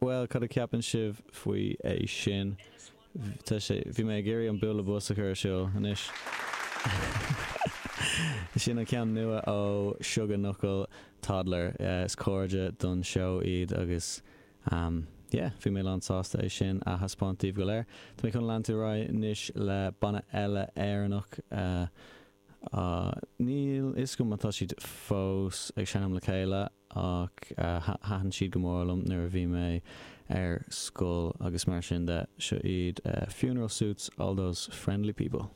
Bhuel, cad a cheapann sibh faoi é sin? Tá sé, bhí mé ag iarraidh an bualadh bos a chur ar siúl anois. Sin an ceann nua ó Sugar Knuckle Toddler. Is cairde don seó iad agus yeah, bhí mé lán sásta é sin a thaispeáint daoibh go léir. Tá mé chun leanstan ar aghaidh anois le banna eile Éireannach. Níl fhios agam má tá siad fós ag seinm le chéile ach thaitin siad go mór liom nuair a bhí mé ar scoil agus mar sin de. Seo iad Funeral Suits, All Those Friendly People.